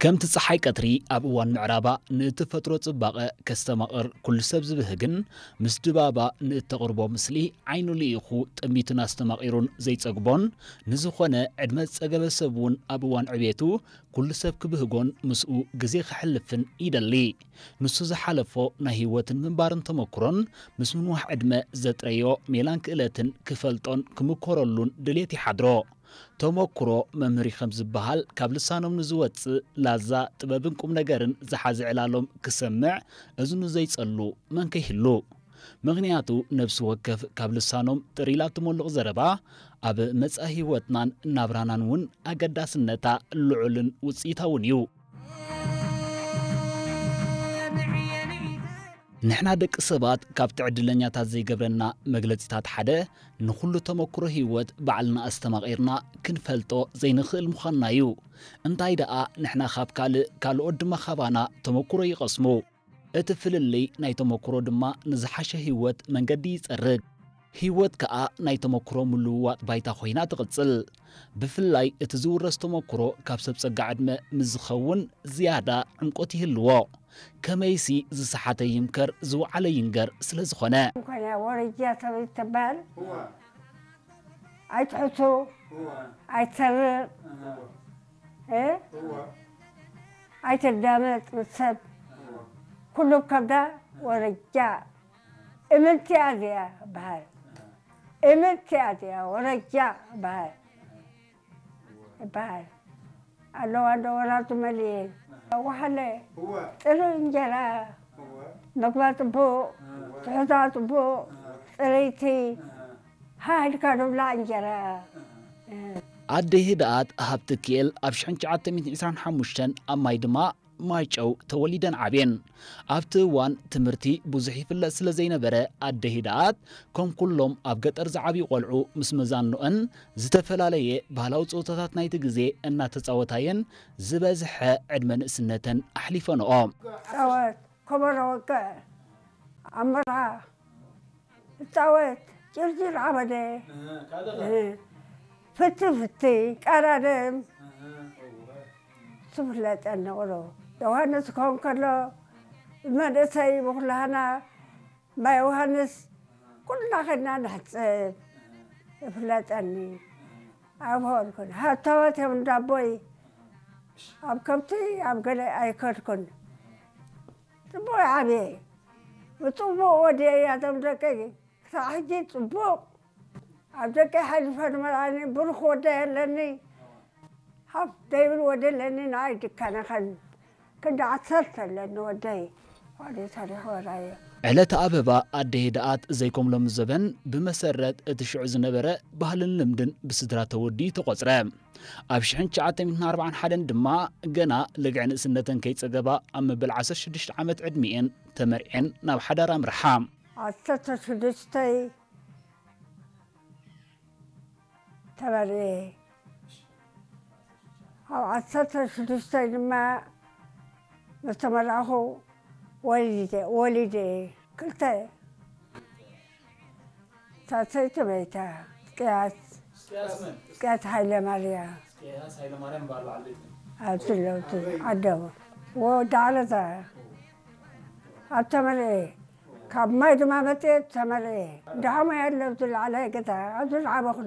ከምቲ ጸሓይ ቀትሪ ኣብ እዋን ምዕራባ ንተፈጥሮ ጽባቐ ከስተማቕር ኩሉ ሰብ ዝብህግን፣ ምስ ድባባ ንእተቕርቦ ምስሊ ዓይኑ ልኢኹ ጠሚቱን ኣስተማቒሩን ዘይጸግቦን፣ ንዝኾነ ዕድመ ዝጸገበ ሰብ እውን ኣብ እዋን ዕቤቱ ኩሉ ሰብ ክብህጎን ምስኡ ግዜ ከሕልፍን ይደሊ። ንሱ ዝሓለፎ ናይ ህይወትን ምንባርን ተመኩሮን ምስ ምንዋሕ ዕድመ ዘጥረዮ ሜላን ክእለትን ክፈልጦን ክምኮረሉን ድሌት ይሓድሮ። ተመኩሮ መምህር እዩ ከም ዝበሃል፣ ካብ ልሳኖም ንዝወጽእ ላዛ ጥበብን ቁም ነገርን ዝሓዘ ዕላሎም ክሰምዕ እዝኑ ዘይጸሉ መን ከይህሉ? ምኽንያቱ፣ ነፍሲ ወከፍ ካብ ልሳኖም ጥር ኢላ እትመልቕ ዘረባ፣ ኣብ መጻኢ ህይወትናን ናብራናን እውን ኣገዳስነታ ልዑልን ውጽኢታውን እዩ። ንሕና ደቂ ሰባት ካብቲ ዕድለኛታት ዘይገብረና መግለጺታት ሓደ፣ ንኹሉ ተመኩሮ ህይወት ባዕልና ኣስተማቒርና ክንፈልጦ ዘይንኽእል ምዃንና እዩ። እንታይ ደኣ፣ ንሕና ካብ ካልእ፣ ካልኦት ድማ ካባና ተመኩሮ ይቐስሙ። እቲ ፍልልይ ናይ ተመኩሮ ድማ ንዝሓሸ ህይወት መንገዲ ይጸርግ። ህይወት ከኣ ናይ ተመኩሮ ምልውዋጥ ባይታ ኮይና ትቕጽል። ብፍላይ እቲ ዝውረስ ተመኩሮ ካብ ሰብ ጸጋ ዕድመ ምስ ዝኸውን ዝያዳ ዕምቆት ይህልዎ። ከመይሲ ዝሰሓተ ይምከር፣ ዝወዓለ ይንገር ስለ ዝኾነ። እንኳን ወረጃ ሰበይቲ ትበሃል። እዋ። ኣይትሕሱ፣ እዋ። ኣይትሰርቕ፣ እዋ። እ? እዋ። ኣይትዳመጥ ምስ ሰብ። እዋ። ኩሉ ከብዳ ወረጃ። እምንቲ እያ እዚኣ በሃል። እምንቲ እያ እዚኣ ወረጃ በሃል። ይበሃል። ኣለዋ እንዶ ወራቱ መሊኤ። ወሓለ፣ እዋ። ጥሩ እንጀራ፣ እዋ። መግባ ጽቡቕ፣ እዋ። ትሕዛ ጽቡቕ፣ እዋ። ጽረይቲ፣ እዋ። ሃ ኢልካ ዝብላዕ እንጀራ። ኣደ ህድኣት ሃብተኪኤል ኣብ ሽሕን ትሽዓተ ሚእትን ዕስራን ሓሙሽተን ኣብ ማይ ድማ ማይጨው ተወሊደን ዓብየን። ኣብቲ እዋን ትምህርቲ ብዙሕ ይፍለጥ ስለ ዘይነበረ፣ ኣደ ህድኣት ከም ኩሎም ኣብ ገጠር ዝዓብዩ ቆልዑ ምስ መዛንኦን ዝተፈላለየ ባህላዊ ጸወታታት ናይቲ ግዜ እናተጻወታየን ዝበዝሐ ዕድመ ንእስነተን ኣሕሊፈንኦ። ጸወት፣ ከበሮ ወቅዕ፣ ኣብ መርዓ እጻወት፣ ጭርጭር ዓበደ፣ እህ፣ ካልእ ኸ? እህ፣ ፍቲ ፍቲ፣ ቀራደም፣ እህ። ትፍለጠኒ ቁሩብ። ዮሃንስ ክኸውን ከሎ፣ መንእሰይ ብኩላህና ማይ ዮሃንስ ኩልና ኸድና ንሕጽብ። ይፍለጠኒ። ኣይኮንኩን። ሃብታማት እዮም እንዳቦይ። ኣብ ከብቲ፣ ኣብ ገለ ኣይከድኩን። ጽቡቕ ዓብየ። ብጽቡቕ ወዲአ እያ እቶም ደቀይ። ክሳዕ ሕጂ ጽቡቕ። ኣብ ደቀይ ሓሊፈ ንመርዓኒ ብሩኽ ወደይ ኣለኒ። ሃፍ ደይብል ወደ ኣለኒ ንኣይ ድካነ ኸን ክንዲ ዓሰርተ ኣለኒ ወደይ። ዋዲ ታሪኽ ወራየ። ዕለተ ኣበባ ኣደ ህድኣት ዘይከም ሎሚ ዘበን ብመሰረት እቲ ሽዑ ዝነበረ ባህልን ልምድን ብስድራ ተወዲኡ ተቖጽረ። ኣብ ሽሕን ትሽዓተ ሚእትን ኣርባዓን ሓደን ድማ ገና ልግዕ ንእስነተን ከይጸገባ ኣብ መበል ዓሰርተ ሽዱሽተ ዓመት ዕድሚኤን ተመርዕየን ናብ ሓዳር ኣምርሓ። ዓሰርተ ሽዱሽተይ ተመርዕየ። ኣብ ዓሰርተ ሽዱሽተ ድማ ምስ ተመረቕኹ ወሊደ፣ ወሊደ። ክልተ ሳልሰይቲ መይታ። እስቅያስ፣ እስቅያስ መን? እስቅያስ ሃይለ ማርያ። እስቅያስ ሃይለ ማርያም በዓል በዓል ቤት መን? ኣብዚ ኣለዉ፣ እቲ ዓደቦ። ወዲ ዓለታ። ኣብ ተመርዕየ። ካብ ማይ ድማ መፅየ ተመርዕየ። ደሓሞ ያለው ዝለዓለ ገዛ፣ ኣብዚ ዝዓበኹ